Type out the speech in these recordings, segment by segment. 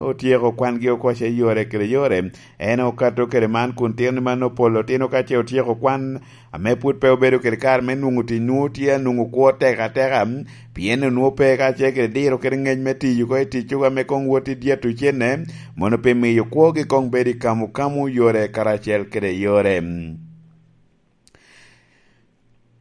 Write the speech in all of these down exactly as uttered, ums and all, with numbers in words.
otyeko kwangi oko ce yore kede yore. En okato kede man kun tino ni man opolo tino ka ce otyeko kwan, ame pwod pe obedo kede kare me nwoŋo tic, nwoŋo tye anwoŋo kwo tek ateka, pien onwoŋo pe ka ce kede diro kede ŋec me tiyo oko i ticcogo ame koŋ wot i dyeto cenne, mono pi miyo kwogi koŋ bedo i kamo kamo yore karacel kede yore.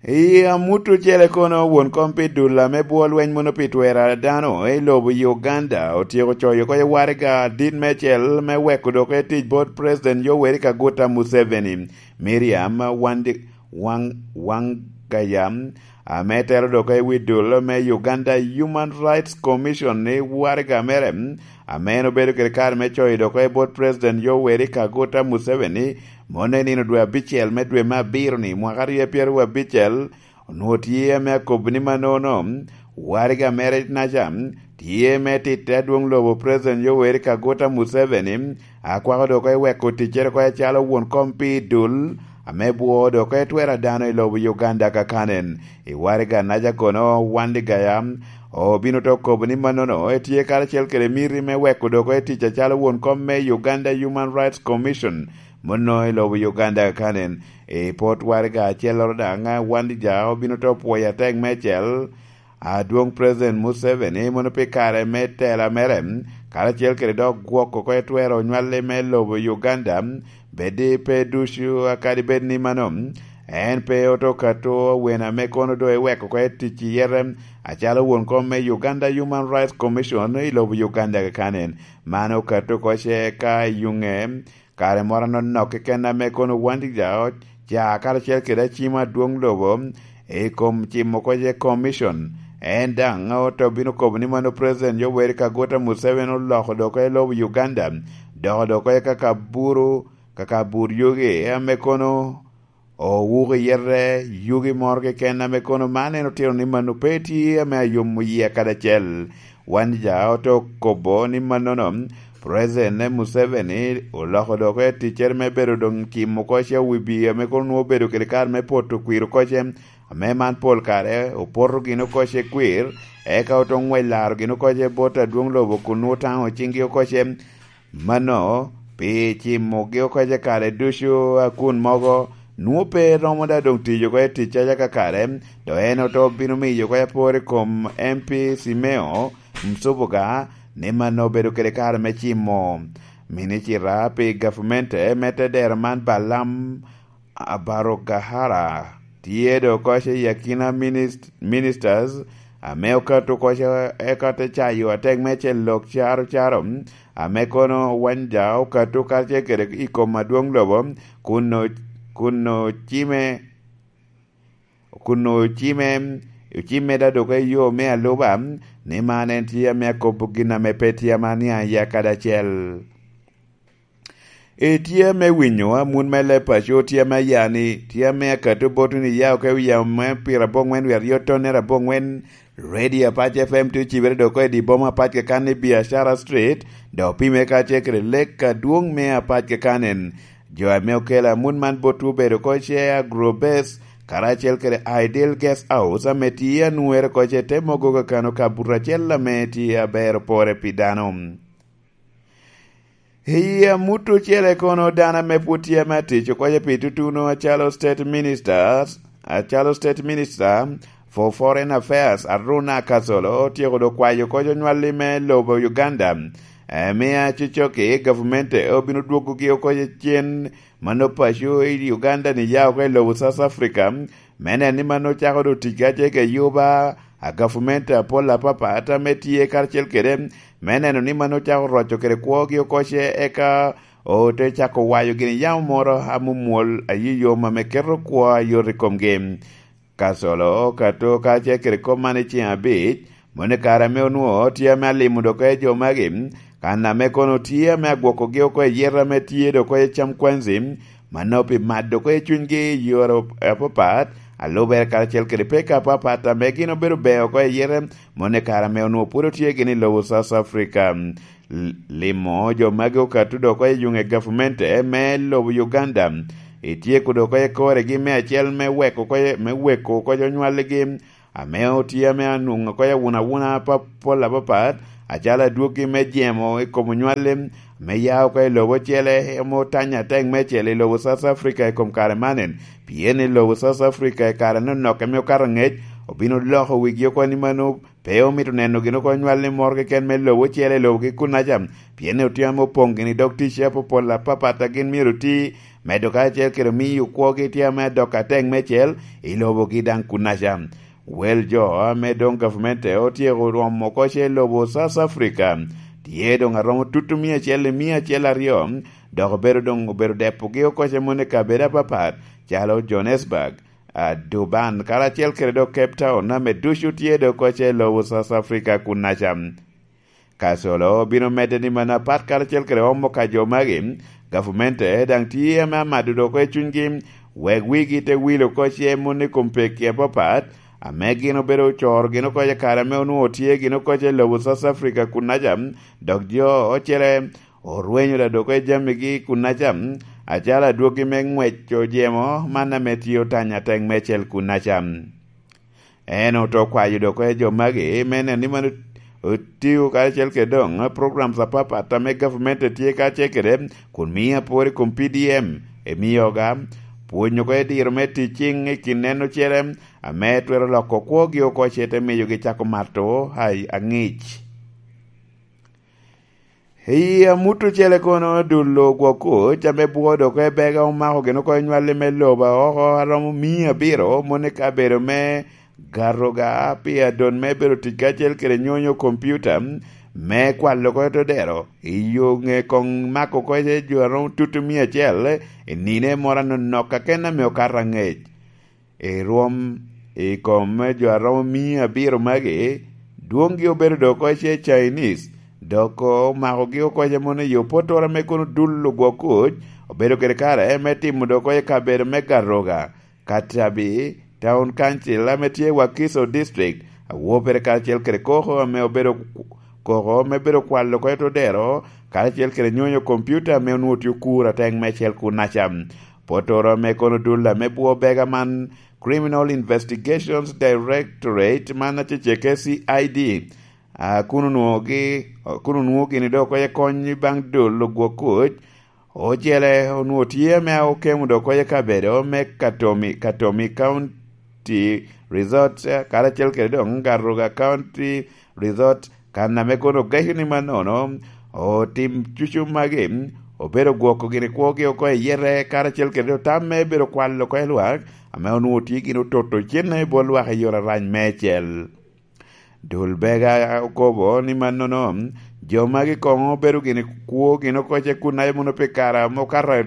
I amut ocele kono, won kom pi dul ame bwo lweny mono pi twero a dano i lobo Uganda otyeko coyo oko i waraga adit meicel me weko dok i tic bot President Yoweri Kaguta Museveni, Miriam Wandi-, Wang-, Wangaya, ame telo dok i wi dul me Uganda Human Rights Commission i waraga mere, ame en obedo kede kare me coyo dok i bot President Yoweri Kaguta Museveni, mono i nino dwe abicel me dwe me abiro-ni, mwaka aryo pyeraryo abicel, onwoŋo tye ame akobo ni mannono, waraga mere naca tye me titte adwoŋ lobo President Yoweri Kaguta Museveni, akwako dok oko i weko ticcere oko acalo won kom pi dul, ame bwoo dok oko i twero a dano i lobo Uganda kakanen. I waraga naca kono, Wandigaya obino to kobo ni mannono etye karacel kede miti me weko dok oko i tic acalo won kom me Uganda Human Rights Commission, mono i lobo Uganda kakanen. I pot waraga acelloro daŋ, Wandigaya obino to pwoyo atek meicel, adwoŋ President Museveni mono pi kare me tela mere, karacel kede dok gwoko oko etwero onywalli me lobo Uganda, bed pe ducu akadi bed ni mano, en pe oto kato wene ame kono doŋ eweko oko etic i yete, acalo won kom me Uganda Human Rights Commission i lobo Uganda kakanen. Man okato oko ce ka i yuŋe, kare moro anonok keken ame kono Wandigaya ca karacel kede acima adwoŋ lobo i kom cimo oko ce commission. En daŋ oto bino kobo ni mano President Yoweri Kaguta Museveni oloko dok i lobo Uganda, dok dok i kaka buru, kaka bur yogi ame kono owuko i yete, yugi moro keken ame kono man en otito ni mano pe tye ame ayomo yie kadi acel. Wandigaya oto kobo ni mannono, President Museveni oloko dok i ticcere me bedo doŋ cimo oko ce owibi ame kono nwoŋo obedo kede kare me poto kwir oko ce, ame man pol kare opoto gin oko ce kwir, eka oto ŋwec laro gin oko ce bot adwoŋ lobo kun nwoŋo taŋo ciŋgi oko ce. Mano, pi cimogi oko ce kare ducu, akun mogo nwoŋo pe romo da doŋ tiyo oko i ticcaca kakare, dok en oto bino miyo oko apor i kom M P Simeo Msubuga ni mano obedo kede kare me cimo. Minicita pi gavmente me tedero man, Balaam Abarogahara, tye dok oko ce i akina minist-, ministers ame okato oko ce, eka te cayo atek meicel lok caro caro, ame kono Wandigaya okato karacel kede i kom adwoŋ lobo, kun o-, kun ocime, kun ocime, ocime da dok i yo me aluba, ni man en tye ame akobo gin ame pe tye ame aniaŋ iye kadi acel. Itye ame winyo amut me leb paco, tye ame ya ni, tye ame akato boti ni ya oko i wi yamo me pyeraboŋwen wiye aryo tonnere aboŋwen, Radio Apac F M tye ocibere dok oko i di boma apac keken i Biashara Street, dok opime kacel kede lek adwoŋ me apac keken. Jo ame okelo amut man botwu obedo oko ce Agrobase karacel kede Ideal Guest House ame tye anwere oko ce te mogo kakano kabuto acel ame tye aber opore pi dano. I amut ocele kono, dano ame pwod tye ame atic oko ce pi tutuno acalo State Minister, acalo State Minister for Foreign Affairs, Aruna Kasolo, otyeko dok kwayo oko onywalli me lobo Uganda, eh, me acocoki gavumenti obino dwogogi oko cen mano paco i Uganda ni ya oko i lobo South Africa, me neno ni mano cako doŋ tic kacel kede yuba a gavumenti apol apapat ame tye karacel kede, me neno ni mano cako roco kede kwogi oko ce, eka ote cako wayo gin yamo moro amomwol ayuyom ame keto kwo ayot i komgi. Kasolo okato kacel kede kop man i ceŋ abic, moni kare ame onwoŋo tye ame alimo dok oko i jo magi, kan ame kono tye ame agwokogi oko i yet ame tye dok oko i cam kwanzi, mano pi mado oko i cunygi i yore apapat, alubere karacel kede peko apapat ame gin obedo ber oko i yete, moni kare ame onwoŋo pwod otye gin i lobo South Africa. L-, limo jo magi okato dok oko i yuŋe gavumenti me lobo Uganda, ityeko dok oko i koregi me acel me weko oko, me weko oko jo nywaligi, ame otye ame anwoŋo oko i awunawuna apa-, pol apapat, Acalo adwoggi me jemo i kom onywalli me ya oko i lobo ocele, ame otanya atek meicel i lobo South Africa i kom kare manen, pien i lobo South Africa i kare anonokke ame okato angec obino loko wigi oko ni mano pe omito neno gin oko onywalli moro keken me lobo ocele i lobogi kunnaca, pien otye ame opoŋ gini dog ticce apopol apapat a gin myero oti, medo kacel kede miyo kwogi tye ame adok atek meicel i lobogi daŋ kunnaca. Wel jo ame doŋ gavmente otyeko rwomo oko ce lobo South Africa, tye doŋ aromo tutu mia acel i mia acel aryo, dok obedo doŋ obedo depogi oko ce moni i kabedo apapat, calo Johannesburg, a, Durban, karacel kede dok Cape Town, ame ducu tye doŋ oko ce lobo South Africa kunnaca. Kasolo bino medde ni mano apat karacel kede omo ka jo magi, gavamente daŋ tye ame amado dok oko i cunygi, wek wigi te wilo oko ce moni i kom pekki apapat, ame gin obedo ocoro gin oko i kare ame onwoŋo tye gin oko ce lobo South Africa kunnaca, dok jo ocele orwenyo da dok oko i jamigi kunnaca, acalo adwoggi me ngwec ojemo man ame tye otanya atek meicel kunnaca. En oto kwayo dok oko i jo magi, me neno ni mano otio karacel kede doŋ programs apapat ame gavmente tye karacel kede, kun mio apor i kom P D M, emio oga, pwonyo oko i diro me tic ciŋ i kin en ocele, ame twero loko kwogi oko ce te miyogi cako mato a-, aŋic. I amut ocele kono, dul ogwok kuc ame bwoo dok oko i bega omako gin oko i nywalli me lobo oko aromo mia abiro, moni i kabedo me Garoga, pi adon me bedo tic kacel kede nyonyo kompiuta me kwalo oko i to dero. I yo ŋe koŋ mako oko ice jo aromo tutu mia acel i nine moro anonok aken ame okato aŋec. I rwom i kom me jo aromo mia abiro magi, dwoŋgi obedo dok oko ice Chinese, dok omakogi oko ice mono i opotoro ame kono dul ogwok kuc obedo kede kare me timo dok oko i kabedo me Garoga, Katabi, Town Council ame tye i Wakiso District, awo pere karacel kede koko ame obedo koko me bedo kwalo oko i to dero, karacel kede nyonyo kompiuta ame onwoŋo tye okur atek meicel kunnaca. Potoro ame kono dul ame bwo bega man, Criminal Investigations Directorate, man aceceke C I D, a, kun onwoŋogi, kun onwoŋo gini dok oko ice kony baŋ dul ogwok kuc, ocele onwoŋo tye ame okemo dok oko ice kabedo me Katomi, Katomi County Resort, eh, karacel kede doŋ Garoga County Resort, kan ame kono ogeco ni mannono otim cucu magi, obedo gwoko gini kwogi oko i yete, karacel kede doŋ tam me bedo kwalo oko i lwak, ame onwoŋo tye gin ototo cenne i bot lwak i yore arac meicel. Dul Bega okobo ni mannono, jo magi koŋ obedo gini kwo gin oko ce kun aye mono pi kare ame okato,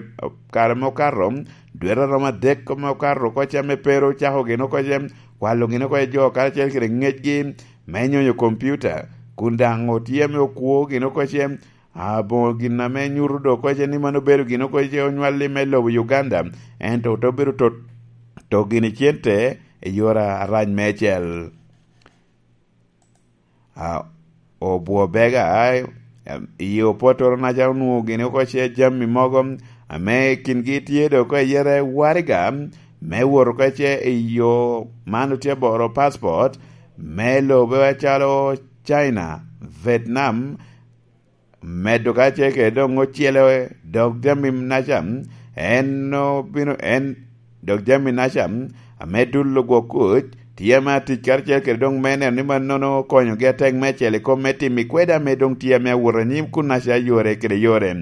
kare ame okato, dwete aromo adek ame okato oko ce ame pe ru ocako gin oko ce kwalo gin oko ce jo karacel kede ngecgi me nyonyo kompiuta, kun daŋ otye ame okwo gin oko ce aboŋo gin ame nyuto dok oko ce ni mano obedo gin oko ce onywalli me lobo Uganda, ento te obedo to, to gini cente i yore arac meicel. A, obwo bega, em, i opotoro naca onwoŋo gini oko ce jami mogo, ame kingi tye dok oko i yere waraga, me wot oko ce i yo man otye aboro passport, me lobe acalo China, Vietnam, medo ka ce kede doŋ ocele dok jami naca, en obino, en dok jami naca, ame dul ogwok kuc, tye ame atic karacel kede doŋ me neno ni mannono okonyogi atek meicel i kom me timo i kweda ame doŋ tye ame awot anyim kun naca yore kede yore.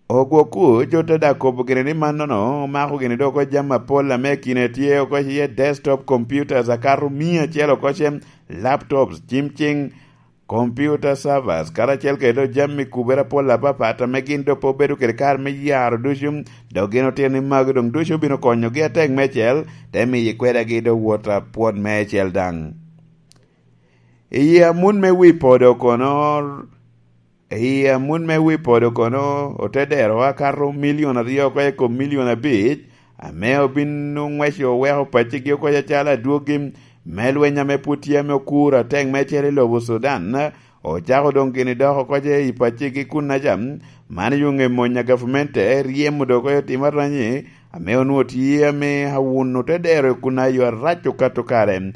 Ogwok kuc ote dak kobo gini ni mannono omako gini dok oko jami apol ame kine tye oko iye desktop computers akato mia acel oko ce, laptops, cim ciŋ, computer servers, karacel kede doŋ jami kubere apol apapat ame gin doŋ pe obedo kede kare me yaro ducu, dok gin otito ni magi doŋ ducu obino konyogi atek meicel, te miyo kwedagi doŋ wot apwot meicel daŋ. I amut me wi podo kono, i amut me wi podo kono, ote dero akato milion aryo oko i kom milion abic, ame obin oŋweco oweko paccigi oko acalo adwoggi me lweny ame pwod tye ame okur atek meicel i lobo Sudan, ocako doŋ gini dok oko ce i paccigi kunnaca, man i oŋe mony a gavmente ryemo dok oko otimo aranyi, ame onwoŋo tye ame awuno te dero i kunna yo arac okato kare.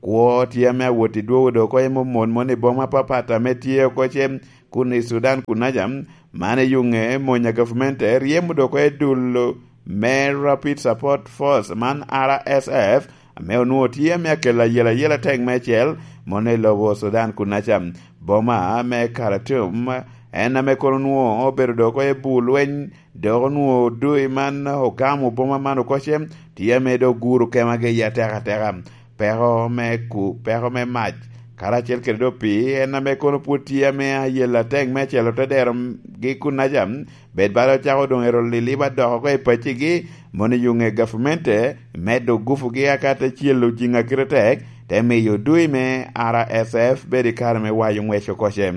Kwo tye ame awot i dwogo dok oko i momon mon i boma apapat ame tye oko ce kun i Sudan kunaca, man eyuŋe mony a gavmente ryemo dok oko i dul me Rapid Support Force, man R S F, ame onwoŋo tye ame akelo ayela ayela atek meicel mono i lobo Sudan kunaca. Boma me Khartoum en ame kono onwoŋo obedo dok oko i bur lweny, dok onwoŋo doi man ogamo boma man oko ce, tye ame dok guro kemagi i ateka ateka. Peko me ku, peko me mac, karacel kede dok pii, en ame kono pwod tye ame ayela atek meicel ote dero gi kunaca, bed bala ocako doŋ ero liliba dok oko i paccigi, mono eyuŋe gavmente medo gupugi aka te celo jiŋ a kite tek, te miyo dui me R S F bedo i kare me wayo ŋwec oko ce.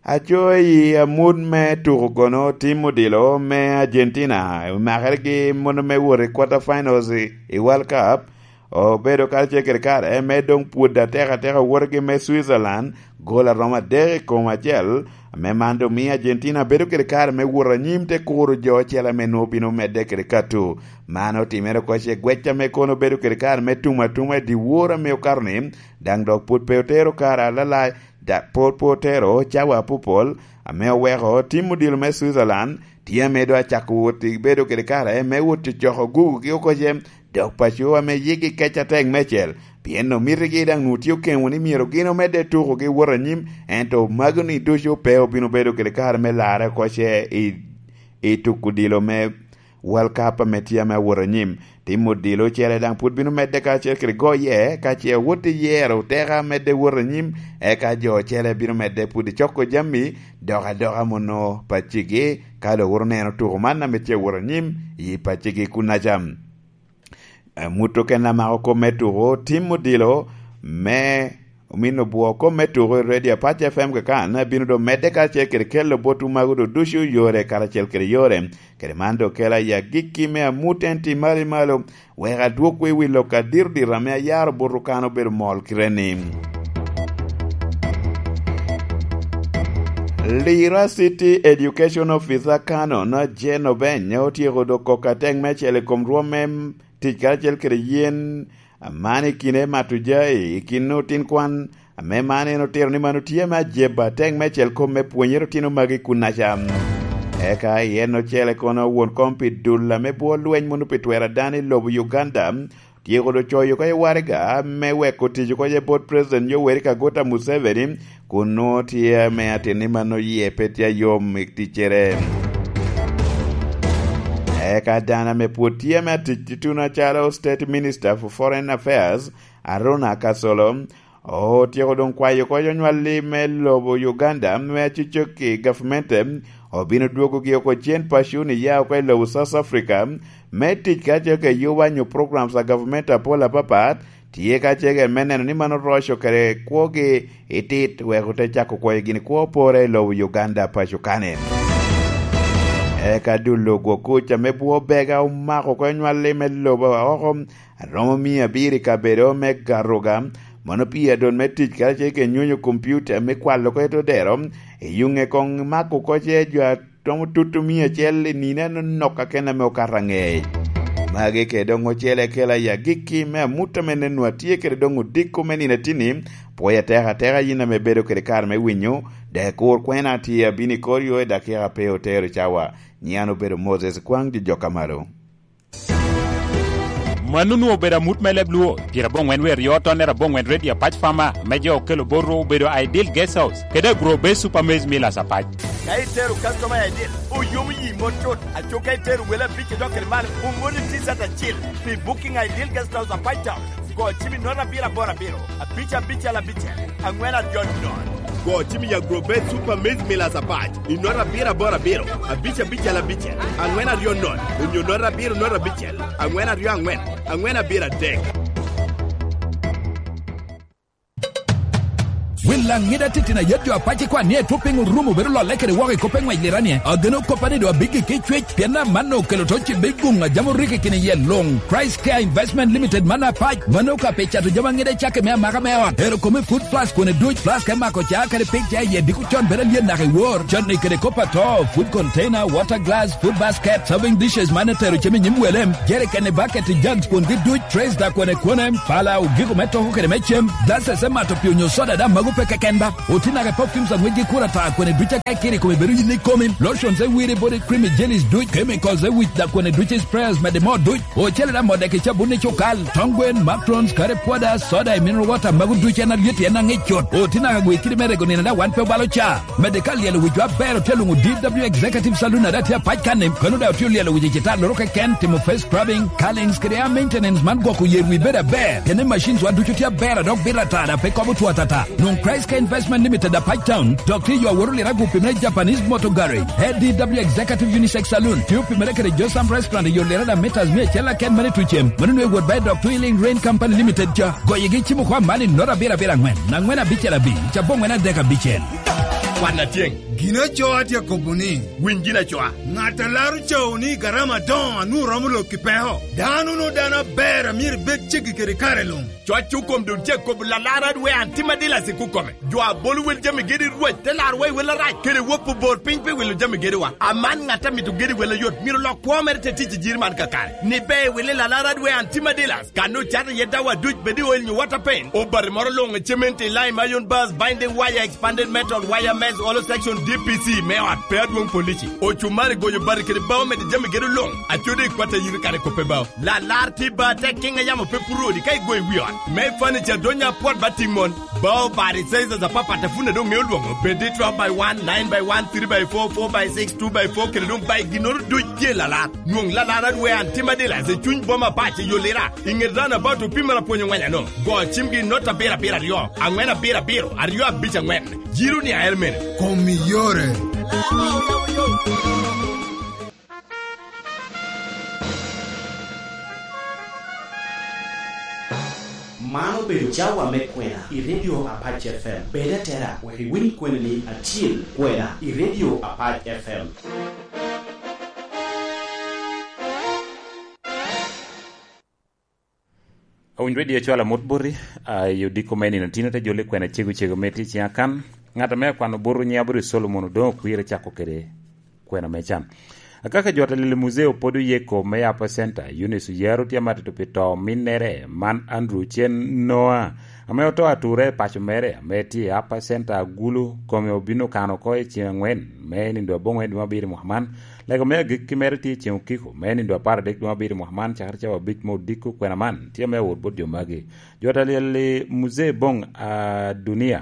Aco i amut me tuko kono, tim odilo me Argentina, omakere gi mono me wot i quarter finals i, i World Cup, obedo karacel kede kare me doŋ pwod ateka ateka wotgi me Switzerland, gol aromo adek i kom acel, ame man doŋ miyo Argentina bedo kede kare me wot anyim te kuro jo ocele ame nwoŋo bino medde kede kato. Man otimere oko ce gwec ame kono obedo kede kare me tum atuma i dyewor ame okato-ni, daŋ dok pwod pe otero kare alalac, da-, pwod pe otero cawa apopol, ame oweko tim odilo me Switzerland tye ame doŋ acako wot i bedo kede kare me wot cocoko gugugi oko ce, dok paco ame yigi kec atek meicel, pien omitigi daŋ nwoŋo tye okeŋo ni myero gin omedde tukogi wot anyim, ento magi-ni ducu pe obino bedo kede kare me larre oko ce i, i tuko odilo me World Cup ame tye ame awot anyim. Tim odilo ocele daŋ pwod bino medde karacel kede goye, ka ce awot i yero teka medde wot anyim, eka jo ocele bino medde pwod i coko jami, dok adoka mono paccigi, ka doŋ wot oneno tuko man ame tye awot anyim i paccigi kunaca. Amut okene amako kop me tuko, tim odilo me omin obwo kop me tuko i Radio Apac F M kakan, bino doŋ medde karacel kede kelo botwu mago doŋ ducu yore karacel kede yore. Kede man doŋ kela i agikki me amut en tim malo i malo, wek adwokwu i wi lok adiro dito ame ayaro botwu kan obedo mol kite-ni. Lira City Education Officer Canon Jane Obeny otyeko dok koko atek meicel i kom rwom me tic karacel kede yen man i kine mato jai i kin otin kwan, ame man en otito ni man otye me ajeba atek meicel kom me pwonyere otino magi kunaca. Eka i en ocele kono won kom pi dul ame bwo lweny mono pi twero a dano i lobo Uganda, tyeko doŋ coyo oko i waraga me weko tic oko i bot President Yoweri Kaguta Museveni, kun nwoŋo tye ame atin ni man oye pe tye ayom i ticcere. Eka dano ame pwod tye ame atic tutuno acalo State Minister for Foreign Affairs, Aruna Kasolo, otyeko doŋ kwayo oko onywalli me lobo Uganda me acocok i gavmente, obino dwogogi oko cen paco ni ya oko i lobo South Africa, me tic kacel kede yuba nyo programs a gavmente apol apapat, tye kacel kede me neno ni man oroco kede kwogi i tit, wek ote cako kwoyo gin kwo pore i lobo Uganda paco kane. Eka dul ogwo kuc ame bwo bega omako oko nywalli me lobo oko, aromo mia abiro i kabedo me Garuga, mano pii adon me tic karacel kede nyonyo kompiuta me kwalo oko i to dero, i yuŋe koŋ mako oko ce jo a romo tutu mia acel i nino anonok akene ame okato aŋec. Magi kede doŋ ocele kela i agikki me amut ame neno atye kede doŋ odiko me nino atini, pwoyo atek ateka yin ame bedo kede kare me winyo, dek kur kwena tye abino i kor yo i dakika pe otero cawa. Nyiŋ an obedo Moses Kwaŋ, jo jok a malo. Mano onwoŋo obedo amut me leb Luo, pyeraboro ŋwen wie aryo tonnere aboro ŋwen Radio Apac Farmer, me jo okelo bot ru obedo Ideal Guest House, kede Agro Base Super Maize Millers Apac. Ka itero customer Ideal, oyomo yi mot cut. Aco ka itero wele abic i dok kede malo, omoni T-shirt acel pi booking Ideal Guest House Apac Town. Go cim i note abiro aboro abiro, abic abicel abicel, aŋwen aryo nono. Go cim i Agrobet Super Maize Millers Apac i note abiro aboro abiro, abic abicel abicel, aŋwen aryo nono, onyo note abiro note abicel, aŋwen aryo aŋwen, aŋwen abiro adek. Wil Laŋida titino ayet jo apac i kwan ni etwo piny orumo bedo lolle kede woko i kop eŋwec liranie. Ageno koppa ni doŋ abiggi ki cwec, pien amanno okelo to cibe i guŋ a jam orikki kine iye luŋ. Christ Care Investment Limited man apac, mano ka pe cato jami aŋida i cakke me amaka me ot. Ero kome food plus kwone duc, plus ka imako ca kede pig ca iye diko con bedo alyen naka i wor. Con ni kede kop ato, food container, water glass, food basket, serving dishes man etero cem i nyim wele, jerikeni, bucket, jugs kwongi duc, trays da kwone kwone, pala, ogiko me toko kede me cem, glasses me mato pii onyo soda da mago pe keken ba. Oti naka perfumes aŋwec gi kura ta kwene duc aka ikiri kome bedo yin ikomi, lotions e wiri body cream i jellies duc, chemicals e wic da kwene duc i sprayers mede mo duc, ocele da mode ki cabun i cukal, tong gwen, matrons, kare pwoda, soda i mineral water mago duc en alyet en aŋic cut. Oti naka gwe kidi me rego nino da wan pe obalo ca. Mede ka lyelo wicwa aber otye luŋo D W Executive Saloon ada tye apac kan-ni, kano da otye lyelo wic i cita loro keken, timo face scrubbing, curlings kede hair maintenance man gwoko yer wi bedo aber. Kene machines wa ducu tye aber a dok bito ata da pe kobo two atata. Nwoŋ Christ Care Investment Limited apac town, dok tye yo aworo lira gupi me Japanese Motor Garage. A D W Executive Unisex Saloon, tye opimere kede Josam Restaurant i yo lira da meters mia acel aken mane tucem. Mano nwe wot ba i dok Twilling Rain Company Limited ca. Goyigi cimo kwa mali nota abiro abiro aŋwen, aŋwen abicel abic, cabo ŋwen adek abicel. Kwan atyeŋ. Gin acoo atye akobo ni, winy gin acoa. Ŋat a laro cawo ni garama adoŋo a nwoŋo romo lok i peko. Dano no dano aber a myero ibed ceggi kede kare luŋ. Coc okom dun cek kobo lalar adwe an tim adila sik okome. Jo a bolo wel jami gedi rwec te lar wa i wel arac, kede wop obor piny pi wilo jami gediwa. Aman ŋat a mito gedi wel ayot, myero lok kwo mere te tic i jiri man kakare. Ni be wili lalar adwe an tim adila. Kan ocato iye dawa duc bed i oil nyo water paint, obati moro luŋ, cement, lime, iron bars, binding wire, expanded metal, wire mesh, hollow section, D P C me ot, pe adwoŋ polici, ocumari, goyo bati kede bao mede jami gedo luŋ, acode i kwat a yito kare kope bao. Lalar tye ba te kiŋ a yamo pe puro odi ka igoyo i wi ot. Me furniture donya apwot ba tiŋ mon. Bao bati sizes apapat a pun a doŋ ŋeo lwoŋo, bed i twelve by one, nine by one, three by four, four by six, two by four, kede doŋ by ginnoro duc tye lalar. Nwoŋ lalar adwe an tim adila i cuny boma pac i Yolira, i ŋet roundabout opimere apwony oŋweny ano. Go cimgi i nota abiro abiro aryo, aŋwen abiro abiro, aryo abic aŋwen. Jiro ni ael mene? Kom i yore. Man obedo cawa me kwena i Radio Apac F M. Bed atera wek iwiny kweni ni acil kwena i Radio Apac F M. Awinyo redio cwalo amut boti, a, i odiko me nino tino te jolo i kwena cego cego me tye ciŋ akan. Ŋat ame akwano bot nyiŋ Abiro Solomon Odoŋo Okwir acako kede kwena me can. Akaka jot a lili muzee Opodo Yeko me Upper Center, Eunice Oyaro tye amatito pi to ominnere, man Andrew Ochen Noah, ame oto ature i paco mere, ame tye i Upper Center Agulu, kome obino kano oko i ceŋ aŋwen, me nindo aboŋwen dwe abiro i mwaka man. Lego me agikki mere tye i ceŋ okiko, me nindo apar adek dwe abiro i mwaka man, cakere cawa abic me odiko kwena man, tye me awot bot jo magi. Jot a lili muzee Boŋ a Dunia,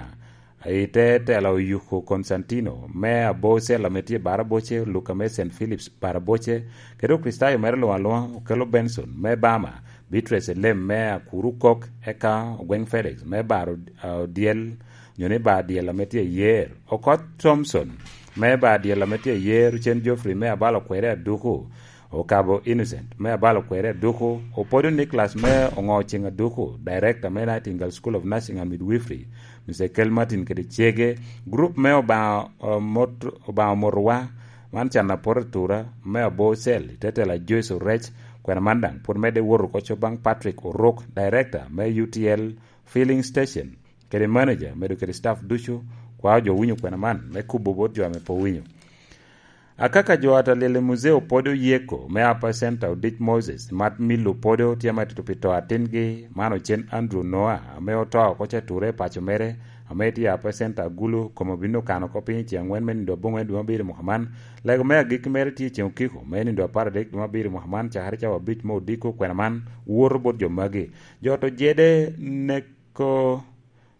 i te tela Oyuko Konstantino, me Abocel ame tye Baraboce, Luka me Saint Philip's Baraboce, kede Okricitayo mere luŋ aluŋa, Okello Benson me Bama, Beatrice Elem me Akuru Kok, eka Ogweŋ Felix me Baro, a, Odyel, nyo ni Bar Dyel ame tye i Yer, Okoth Thomson me Bar Dyel ame tye i Yer, Ocen Geoffrey me Abalo Kwere Aduku, Okabo Innocent me Abalo Kwere Aduku, Opodo Nicholas me Oŋo Ceŋ Aduku, Director me Nightingale School of Nursing and Midwifery, Mister Kel Martin kede cege, group me Obaŋa, eh, Mot-, Obaŋa Omotowa, man can apwodo atura, me Abocel, i te tela Joyce Orec, kwena man daŋ pwod medde woto oko co baŋ Patrick Oruk, Director me U T L Filling Station, kede manager, medo kede staff ducu, kwao jo winyo kwena man, me kubo bot jo ame pe owinyo. Akaka jo ata lili muzee Opodo Yeko me Upper Center Odic Moses, Mat Milo Opodo tye ame atito pi to atingi, man Ocen Andrew Noah, ame oto oko ca ture i paco mere, ame tye i Upper Center Agulu, kome obino kano oko piny i ceŋ aŋwen me nindo aboŋwen dwe abiro i mwaka man. Lego me agikki mere tye i ceŋ okiko, me nindo apar adek dwe abiro i mwaka man, cakere cawa abic me odiko kwena man, woto bot jo magi. Jo to jede neko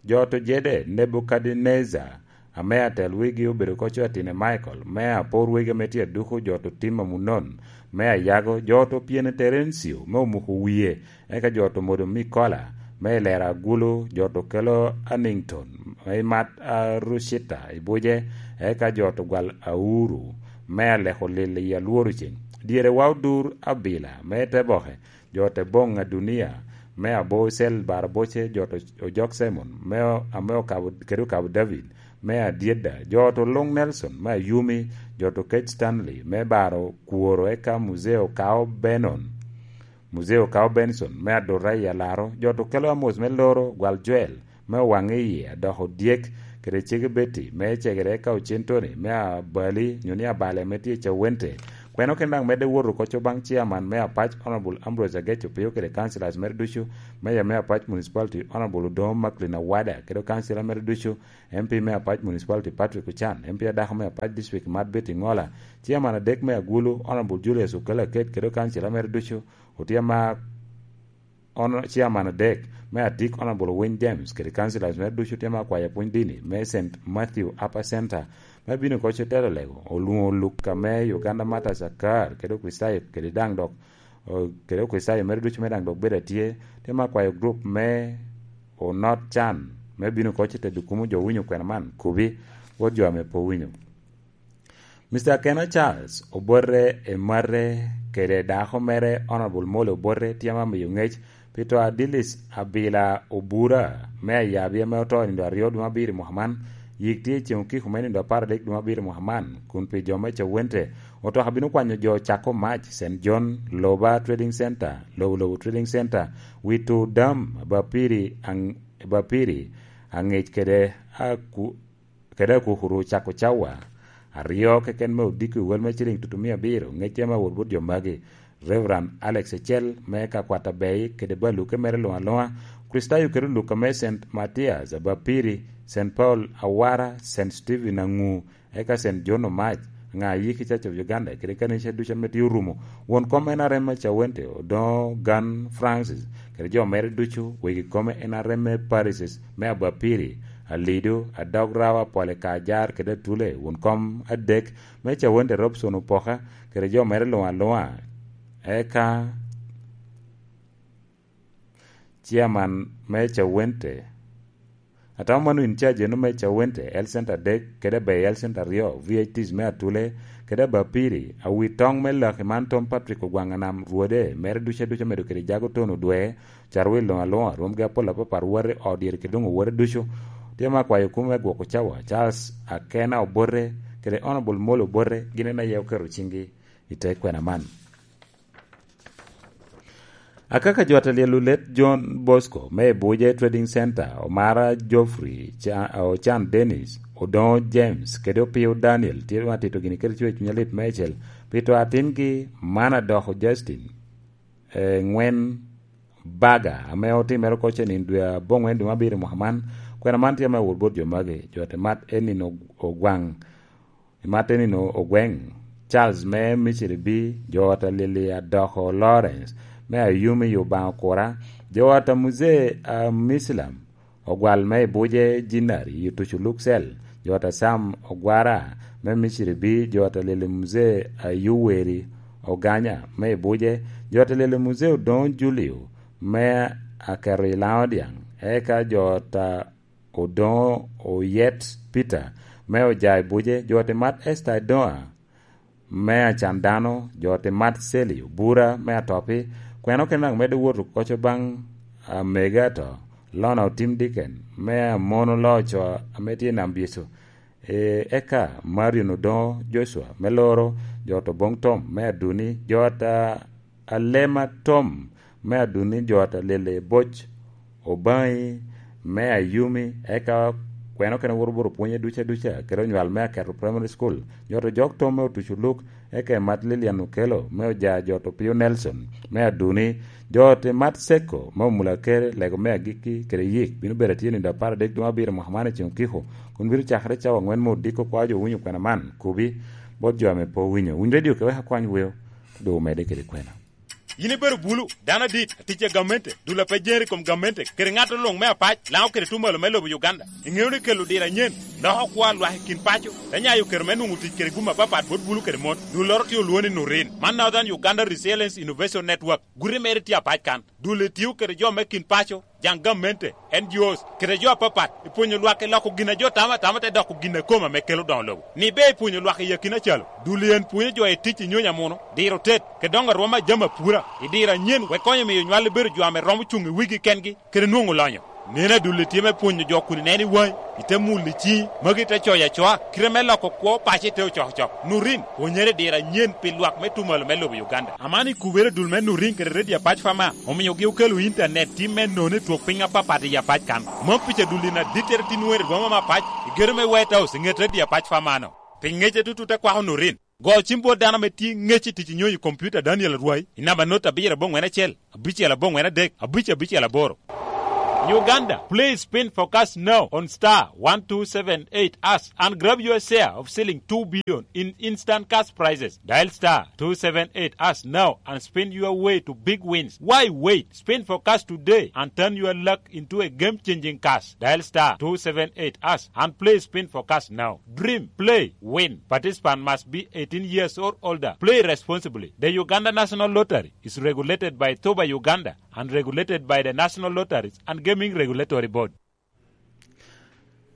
Jo to jede, Nebukadnecar, ame atel wegi obedo koco atine Michael, me apor wegi ame tye aduko jo to tim amunon, me ayago jo to pyene Terencio, me omuko wie, eka jo to modo Mikola, me ilero agulu, jo to kelo Anington, me imat Arucita i buce, eka jo to gwal auru, me aleko lil i alworo ceng. Dyere wa odur abila, me te boke, jo te boŋ adunia, me abo Cel Baro Boce, jo to Ojok Simon, me o-, ame okabo, kede okabo David, me Adyedda, jo to Luŋ Nelson, me Ayumi, jo to Kec Stanley, me Baro Kworo, eka Muzee Okao Benon, Muzee Okao Benson, me Adurra i Alaro, jo to Kelo Amos, me Loro, Gwal Joel, me Owaŋe Iye, Adoko Dyek, kede Cege Betty, me Cegere, eka Ocen Tony, me Abali, nyo ni Abale, me tye i Cawente. Kweno ken daŋ medde wot oko co baŋ chairman me Apac, Honorable Ambrose Ageco Pio, kede councillors mere ducu, Mayor me Apac Municipality, Honorable Odoŋo Macklin Awada, kede councillor mere ducu, M P me Apac Municipality, Patrick Ochan, M P adako me Apac District, Mad Betty Ŋola, chairman adek me Agulu, Honorable Julius Okello Aket, kede councillor mere ducu, otye ama, ono, chairman adek me Atik, Honorable Winy James, kede councillors mere ducu, otye ama akwayo apwony dini me Saint Matthew Upper Center, me bino oko co telo lego, olwoŋo Luka me Uganda Martyrs Akar, kede Okricitayo, kede daŋ dok, o, kede Okricitayo mere ducu me daŋ dok bedo atye, otye ama akwayo group me Onot Can, me bino oko co tedo kumo jo winyo kwena man, kubi, wot jo ame pe owinyo. Mister Akena Charles Obote Emate kede dako mere Honorable Molly Obote tye ama miyo ŋec pi to a Dilis Abila Obura me Ayabi ame oto i nino aryo dwe me abiro i mwaka man. Yik tye i ceŋ okiko me nino apar adek dwe me abiro i mwaka man, kun pi jo me Cawente, otoka bino kwanyo jo cako mac, Saint John, Loba Trading Center, Lobo Lobo Trading Center, Witu Dam, Bapiri, Ang-, Bapiri, Angec kede Aku-, kede Akukuru cako cawa aryo keken me odiko i wel me ciliŋ tutu mia abiro, ŋecce me awot bot jo magi, Reverend Alex Ecel me ka kwat Abei kede baluke mere luŋ aluŋa, Kricitayo kede Luka me Saint Matthias, Abapiri, Saint Paul Awara, Saint Stephen Aŋu, eka Saint John Omac, ŋa a yiki Church of Uganda, kede kanica ducu ame tye orumo, won kom N R M me Cawente, Odoŋo Gan Francis, kede jo mere ducu, wegi kom N R M me parishes me Abapiri, Alido, Adog Rawa, Pole Kajar, kede Atule, won kom adek me Cawente Robson Opoka, kede jo mere luŋ aluŋa, eka chairman me Cawente, atamo mano in charge eno me Cawente, Health Center adek, kede Abei Health Center aryo, V I Ts me Atule, kede Abapiri, awi toŋ me laki man Tom Patrick Ogwaŋ Anam Rwode, mere ducu aduca medo kede jago tono dwe, carwil luŋ aluŋa, rwomgi apol apapar, wati odyere kede luŋ owote ducu, tye ma akwayo kumo me gwoko cawa, Charles Akena Obote, kede Honorable Molo Obote, gin en aye oketo ciŋgi i te kwena man. Akaka jo ate lyel olet John Bosco me Ebuje Trading Center, Omara Geoffrey, Ca-, Ochan Dennis, Odoŋo James, kede Opio Daniel, tye ma tito gini kede cwer cuny alit meicel, pi to atingi man adoko Justin, eh, Ŋwen Baga, ame otimere oko ce nino dwe aboŋwen dwe me abiro mwaka man. Kwena man tye me awot bot jo magi, jo ate mat Enin Og-, Ogwaŋ, Martin Ogweng, Charles me Misiri B, jo ot a Lili Adoko Lawrence me Ayumi i Obaŋa Okura, jo ot a Muzee a Misilam, Ogwal me Ibuje Jinari i Otuco Luksel, jo ot a Sam Ogwara me Misiri B, jo ot a Lili Muzee a Yoweri Oganya me Ibuje, jo ot a Lili Muzee Odoŋo Julio me Aketo i Laŋo Dyaŋ, eka jo ot a Odoŋo Oyet Peter me Ojai Buje, jo ot i mat Esther Adoŋa me Acan Dano, jo ot i mat Seli Obura me Atopi, kwena okene daŋ medde wot oko co baŋ amege ato, Lona Otim Diken me Amon Oloo Co ame tye i Nam Byecu, e, eka Marion Odoŋo Joshua me Loro, jo ot Oboŋ Tom me Aduni, jo ot a Alema Tom me Aduni, jo ot a Lele Boc Obaŋi me Ayumi, eka kwena okene wot oboro pwonye duca duca, kede onywal me Aketo Primary School, jo ot Ojok Tom me Otuco Luk, eka emat Lilian Okello me Oja, jo ot Opio Nelson me Aduni, jo ot emat Seko me Omula Kere, lego me agikki kede yik bino bedo atye nino apar adek dwe abiro mwaka man i Cengokiko, kun bino cakere cawa aŋwen me odiko. Kwa jo owinyo kwena man, kubi bot jo ame pe owinyo. Winy redio ke wek akwany weo, doŋ omedde kede kwena. Yin ibedo bulu, dano adit, atic a gamente, dul a pe jeri i kom gamente, kede ŋat oluŋ me apac, Laŋo kede Tumalo me lobo Uganda. Iŋeo ni kelo diro anyen loko kwo a lwak i kin paco, te nyayo kero me nwoŋo tic kede gum apapat bot bulu kede mon. Dulloro tye olwoŋo ni Nurin. Man Northern Uganda Resilience Innovation Network. Guti mere tye apac kan. Dul itio kede jo me kin paco, jaŋ gamente, N G Os, kede jo apapat, i pwonyo lwak i loko gin a jo tamo atama te doko gin a kome ame kelo doŋo lobo. Ni ber i pwonyo lwak i akina calo, dul en pwonyo jo i tic i nyonyo amuno, diro tet, kede doŋo arwom a jami apura, i diro anyen wek konyo miyo nywal bedo jo ame romo cuŋ i wigi kengi, kede nwoŋo lonyo. Nen adul itye me pwonyo jo kun ineno i waŋi, ite mulo i ciŋi, magi te coyo acoa, kite me loko kwo paco ite ocokocok. Nurin, pwonyere i diro anyen pi lwak me tumalo me lobo Uganda. Aman i kubere dul me Nurin kede Redio Apac Fama, omiogi okelo intanet tim me nono i twok piny apapat i Apac kan. Mom pica dul in adittere tin wene i boma me Apac, i gedo me White House, i ŋet Redio Apac Famano. Pi ŋece tutu te kwako Nurin. Go cim bot dano ame tye ŋec i tic i nyonyo i kompiuta Daniel Arwai i namba not abiro aboŋwen acel, abicel aboŋwen adek, abic abicel aboro. Uganda, please spin forecast now on star one two seven eight hash and grab your share of ceiling two billion in instant cash prizes. Dial star two seven eight hash now and spin your way to big wins. Why wait? Spin forecast today and turn your luck into a game-changing cash. Dial star two seven eight hash and play spin forecast now. Dream, play, win. Participant must be eighteen years or older. Play responsibly. The Uganda National Lottery is regulated by Thoba Uganda and regulated by the National Lotteries and Gaming Regulatory Board.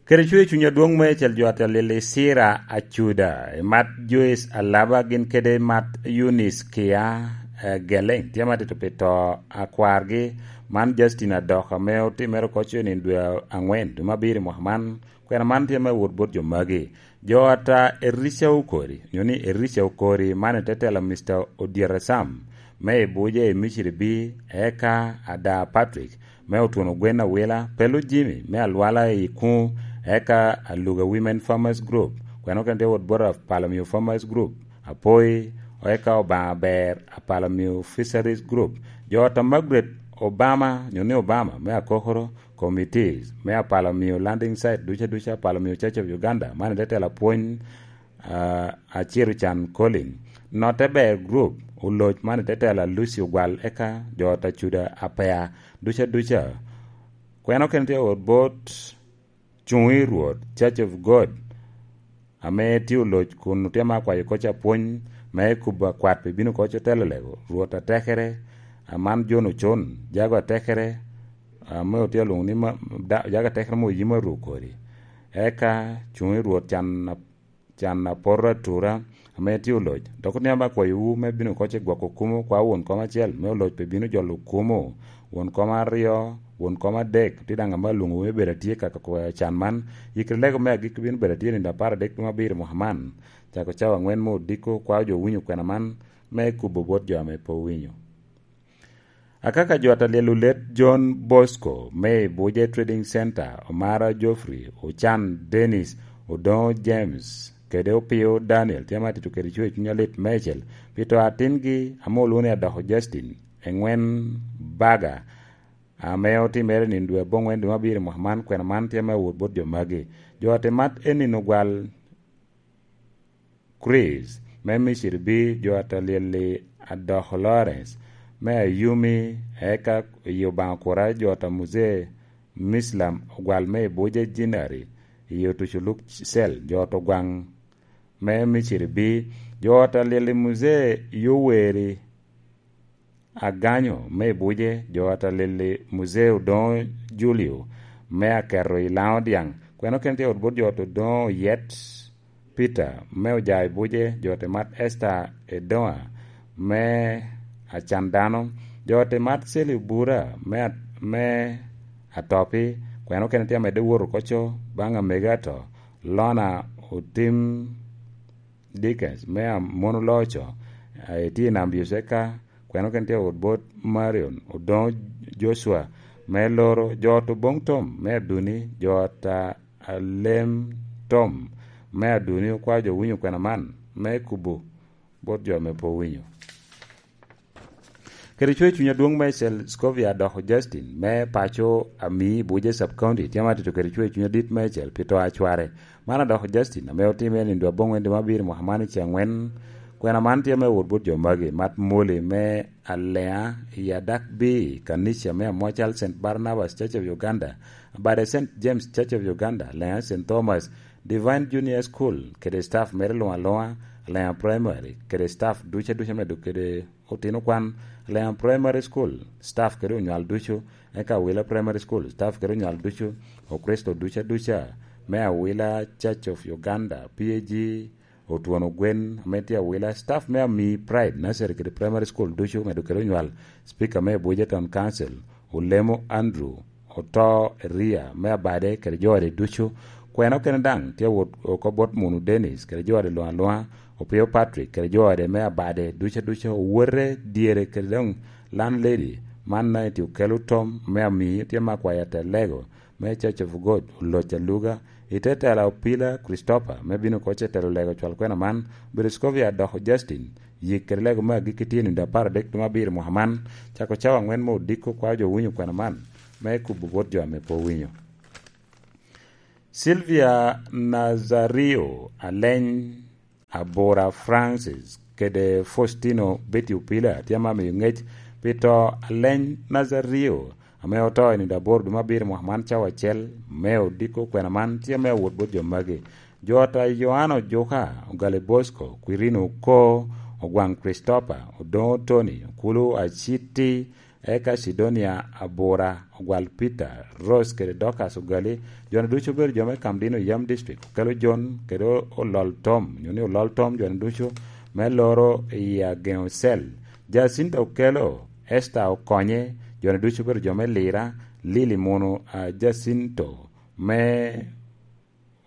Kede cwer cuny adwoŋ me cel jo atel i Sira Acuda, i mat Joyce Alaba gin kede mat Eunice Kia, eh, Geleng, tye ma tito pi to a kwargi. Man Justin Adok ame otimere oko cen i dwe aŋwen, dwe me abiro i mwaka man. Kwena man tye me wot bot jo magi. Jo ata Erisha Okori, nyo ni Erisha Okori, man i te tela Mister Odyere Sam, me i Buja i Misiri B, eka Ada Patrick, me Otwono Gwen Awila, Pelu Jimmy, me Alwala i Kuŋ, eka Aluga Women Farmers Group, kwena okene tye wot bot Apalomio Farmers Group, Apoi, eka Obaŋa Ber, Apalomio Fisheries Group, jo ata Margaret Obama, nyo ni Obama, me Akokoro, committees me Apalomio Landing Site duca duca, Apalomio Church of Uganda, man i te tela pwony, ah, Aciro Can Colin. Notte Ber Group, oloc man i te tela Lucy Ogwal, eka jo ata Cuda Apea duca duca. Kwena okene tye ot bot Cuŋ i Rwot, Church of God, ame tye oloc kun otye ma akwayo kocca pwony me kubo akwat pi bino koc otelo lego, Rwot atekere, aman John Ocon, jago atekere, ame otye alwoŋo ni ma, da-, jago atekere mo yim aru kodi. Eka Cuŋ i Rwot can, can apoto atura, ame tye oloc. Dok otye ame akwayowu me bino koc i gwoko kumo kwa won kom acel, me oloc pe bino jolo kumo, won kom aryo, won kom adek, tye daŋ ame alwoŋowu me bedo atye ka kwayo can man. Yikere lego me agikki bino bedo atye nino apar adek dwe me abiro mwaka man. Cako cawa aŋwen me odiko, kwao jo winyo kwena man me kubo bot jo ame pe owinyo. Akaka jo ata lyel olet John Bosco me i Buja Trading Center, Omara Geoffrey, Ocan Dennis, Odoŋo James, kede Opio Daniel, tye ma atito kede cwer cuny alit meicel, pi to atingi ame olwoŋo ni Adoko Justin, Eŋwen Baga, ame otimere nino dwe aboŋwen dwe me abiro i mwaka man, kwena man tye me awot bot jo magi. Jo ate mat en nino gwal Chris, me Misiri B, jo ata lyel-li Adoko Lawrence, me Ayumi, eka i Obaŋa Kura, jo ata Muzee Mislam Ogwal me Ibuja Jinari, i Otucu Luk Cel, jo ata Ogwaŋ, me Misiri B, jo ata lyel-li Muzee Yoweri Aganyo me Ibuje, jo ata lyel-li Muzee Odoŋo Julio me Aketo i Laŋo Dyaŋ, kwena okene tye ot bot jo ata Odoŋo Oyet Peter me Oja Ibuje, jo ata mat Esther Edoŋa me Acan Dano, jo ata mat Seli Obura me, me Atopi, kwena okene tye amedde wot oko co baŋ amego ato, Lona Otim Dickens me Amono Loco, eh, tye i Nam Yoceka, kwena okene tye ot bot Marion Odoŋo Joshua me Loro, jo ata Oboŋ Tom me Aduni, jo ata Alem Tom me Aduni, okwao jo winyo kwena man me kubo bot jo ame pe owinyo. Kede cwer cuny adwoŋ meicel, Scovia Adoko Justin me paco Ami, Buja Sub County, tye ma atito kede cwer cuny adit meicel pi to a cware. Man Adoko Justin ame otimme i nino dwe aboŋwen dwe me abiro mwaka man i ce aŋwen, kwena man tye me wot bot jo magi: Mat Moli me Aleŋa i Adak B, Kanica me Amocal Saint Barnabas Church of Uganda, Abade Saint James Church of Uganda, Aleŋa Saint Thomas, Divine Junior School kede staff mere luŋ aluŋa, Alea Primary kede staff duca duca medo kede otino kwan, Alea Primary School staff kede onywal ducu, eka Awila Primary School staff kede onywal ducu, Okristo duca duca me Awila Church of Uganda, P A G, Otwon Ogwen ame tye Awila, staff me Ami Pride Nursery kede Primary School ducu medo kede onywal, Speaker me Abuja Town Council, Olemo Andrew, Oto Eria me Abade kede jo ode ducu. Kwena okene daŋ tye awot oko bot Munu Dennis kede jo ode luŋ aluŋa, Opio Patrick kede jo ode me Abade duca duca, owote dyere kede doŋ landlady man daŋ tye okelo tom me Ami tye me akwaya Telego me Church of God, Oloc Aluga, i te tela Opila Christopher me bino oko ce telo Lego cwal kwena man, obedo Scovia Adoko Justin, yik kede Lego me agikki tye nino apar adek dwe me abiro mwaka man, cako cawa aŋwen me odiko kwao jo winyo kwena man, me kubo bot jo ame pe owinyo. Sylvia Nazario Aleny Abura Francis kede Faustino Betty Opila tye ame amiyo ŋec pi to Aleny Nazario ame oto i nino aboro dwe me abiro mwaka man cawa acel me odiko kwena man tye ame awot bot jo magi. Jo ata Yohana Ojuka, Ogali Bosco, Quirino Oko, Ogwaŋ Christopher, Odoŋo Tony, Okulu Aciti, eka Sidonia Abura, Ogwal Peter, Rose kede Dorcas Ogali, jo-ni ducu obedo jo me Kamdino Yam District, Okelo Jon kede Olol Tom, nyo ni Olol Tom jo-ni ducu me loro i Ageŋo Cell. Jacinta Okelo, Esther Okonye, jo-ni ducu obedo jo me Lira, Lili Munu, ah, Jacinto me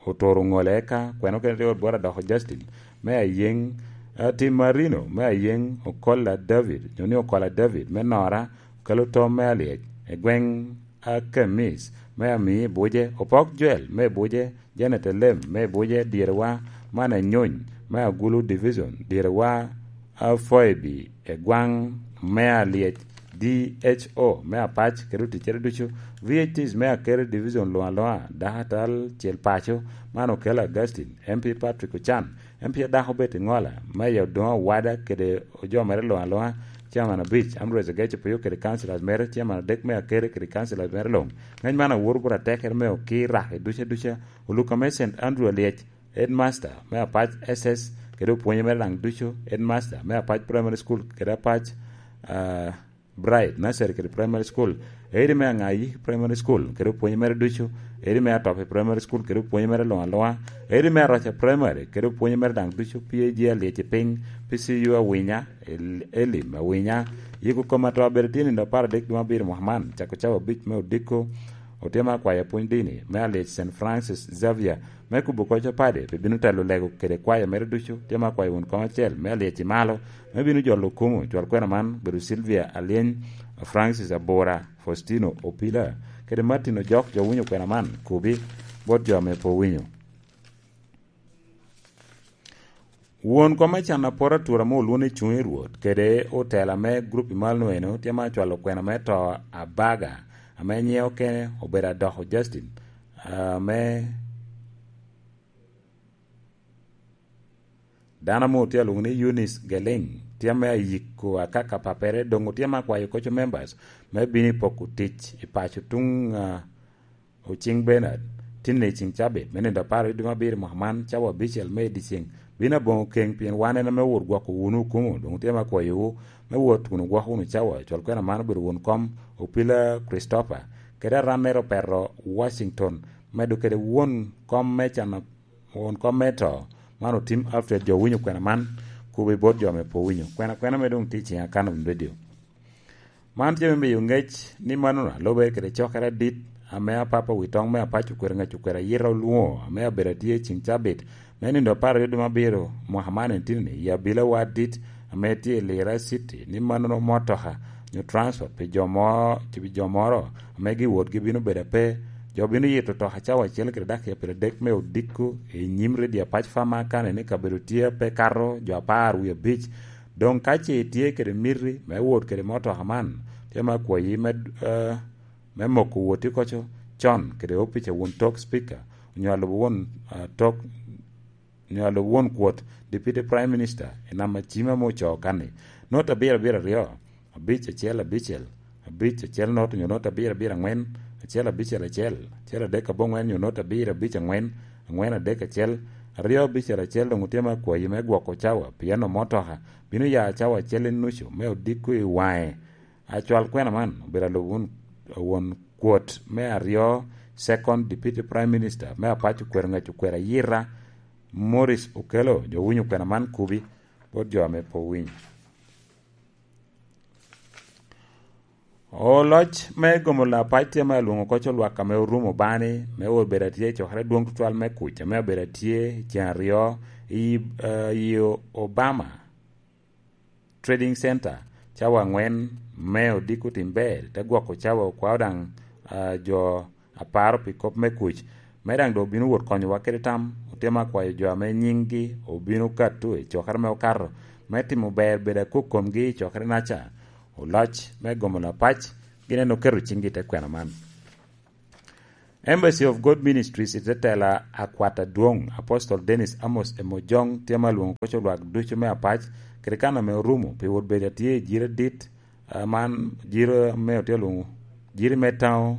Otoro Ŋole eka, kweno kene tye bot Adoko Justin, me Ayeŋ, ah, Tim Marino, me Ayeŋ, Okola David, nyo ni Okola David, me Nora, Okelo Tom me Alyec, Egweŋ Akemis, me Ami Buje, Opok Joel, me Buje, Janet Elem, me Buje, Dyerewa, man Anyony, me Agulu Division, Dyerewa, Afoibi, Egwaŋ, me Alyec, D H O, me Apac, kede oticcere ducu, V H Ts me Akere Division luŋ aluŋa, dako atal cel paco, man Okelo Augustine, M P Patrick Ocan, M P adako Betty Ŋola, Meya Odoŋo Owada kede ojomere luŋ aluŋa, Chairman abic, Ambrose Ageco Pio kede councillors mere, Chairman adek me Akere kede councillors mere luŋ. Ŋec man awoto bot atekere me Okir Rake duca duca, Oluka me Saint Andrew Alyec, Headmaster me Apac S S kede opwonye mere daŋ ducu, Headmaster me Apac Primary School kede Apac, ah, Bright Nursery kede Primary School, eri me Aŋayi Primary School kede opwonye mere ducu, eri me Atopi Primary School kede opwonye mere luŋ aluŋa, eri me Aroca Primary kede opwonye mere daŋ ducu, P A G Alyeci Piny, P C U Awinya, El-, Elim Awinya, yiko kom ato abedo tye nino apar adek dwe me abiro mwaka man, cako cawa abic me odiko, otyeno akwayo pwony dini me Alyec Saint Francis Xavier, me kubo koc opade, pe bino telo lego kede kwaya mere ducu, tye me akwayo won kom acel me Alyeci Malo, me bino jolo okumo, cwal kwena man, bedo Sylvia Alyeny, Francis Abura, Faustino Opila, kede Martin Ojok, jo winyo kwena man, kubi, bot jo ame pe owinyo. Won kom me can apor atura ame olwoŋo ni Cuŋ i Rwot, kede otela me gurup i malo eno, tye ma acwalo kwena me to Abaga, ame nyiŋe okene obedo Adoko Justin, ame dano amo tye alwoŋo ni Eunice Geleng, tye ame ayiko akaka papere, doŋ otye ma akwayo koco members me bino i poko tic i paco tuŋ, ah, Ociŋ Bernard, tinne i ciŋ cabit, me nino apar i dwe me abiro mwaka man, cawa abicel me i dyeceŋ, bino aboŋo keŋ, pien wan en ame owot gwoko wunu okumo, doŋ otye me akwayowu, me wot kun ogwoko wunu cawa, cwal kwena man obedo won kom, Opila Christopher, kede arannere Opeto Washington, medo kede won kom me can, won kom me to, man Otim Alfred, jo winyo kwena man, kubo i bot jo ame pe owinyo. Kwena kwena me doŋ tye i ciŋ Akanon Radio. Man tye me miyo ŋec ni mannono lubere kede cokere adit ame apapa wi toŋ me apac okwero ŋec okwero ayita olwoŋo, ame abedo atye i ciŋ cabit me nino apar aryo dwe me abiro mwaka man en tye ni, i abilawa adit ame tye i Lira City, ni mannono motoka nyo transport pi jo mo-, pi jo moro ame giwotgi bino bedo ape. Jo bino yito toka cawa acel kede dakika pyeradek me odiko i nyim redio apac Farmer County ni kabedo tye ape kato jo apar wie abic. Doŋ ka ce itye kede miti me wot kede motoka man, tye me akwayi me, eh, me moko woti koco con kede opic a won tok Speaker, onyo alubo won, ah, tok, onyo alubo won kwot Deputy Prime Minister i namba cim ame ocoo kanni. Not abiro abiro aryo, abic acel abicel, abic acel not onyo not abiro abiro aŋwen, acel abicel acel, acel adek aboŋwen onyo not abiro abic aŋwen, angwen adek acel, aryo abicel acel doŋ otye me akwayi me gwoko cawa, pien omotoka bino ya cawa acel i nucu me odiko i waŋe. Acwal kwena man obedo alub won, won kwot me aryo, Second Deputy Prime Minister me Apac okwero ŋec okwero ayita, Morris Okello. Jo winyo kwena man kubi bot jo ame pe owinyo. Oloc me gomo Apac tye ma alwoŋo koc olwak ame orumo bani me obedo atye i cokere dwoŋ tutwal me kuc ame obedo atye i cen aryo i, eh, i Obama Trading Center, cawa angwen me odiko tim ber, te gwoko cawa okwao daŋ, ah, jo aparo pi kop me kuc. Me daŋ doŋ obino wot konyowa kede tam, otemo akwayo jo ame nyiŋgi obino kato i cokere me okato, me timo ber bedo akok komgi i cokere naca. Oloc me gomo Apac gin en oketo ciŋgi i te kwena man. Embassy of God Ministries i te tela akwat adwoŋ, Apostle Dennis Amos Emojong, tye ma lwoŋo koc olwak ducu me Apac, kede kan ame orumo pi wot bedo atye i jiro dit, ah, man jiro ame otye lwoŋo, jiri me taŋo,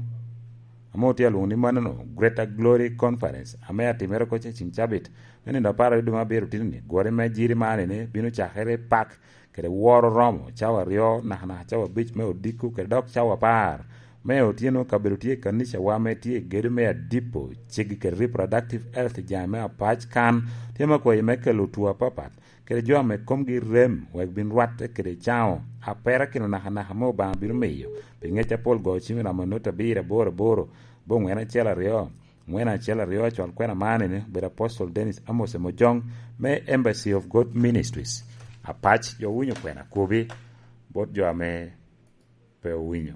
ame otye alwoŋo ni manono, Greater Glory Conference, ame atimere koc i cim cabit, me nino apar aryo dwe me abiro titini. Gwori me jiri man ene bino cakere i pak kede woro romo cawa aryo, nakanaka cawa abic me odiko, kede dok cawa apar me otyeno. Kabedo tye i kanicawa ame tye i gedo me Adipo, ceggi kede Reproductive Health Jai me Apac kan, tye me kwayi me kelo two apapat, kede jo ame komgi rem wek bin rwatte kede caŋo aperakino nakanaka ame Obaŋa bino miyo, pi ŋec apol go cim i ramo nut abiro aboro aboro, bongwen acel aryo, Ŋwen acel aryo acwal kwena man ene obedo Apostle Dennis Amos Emojong me Embassy of God Ministries. Apac jo owinyo kwena kubi bot jo ame pe owinyo.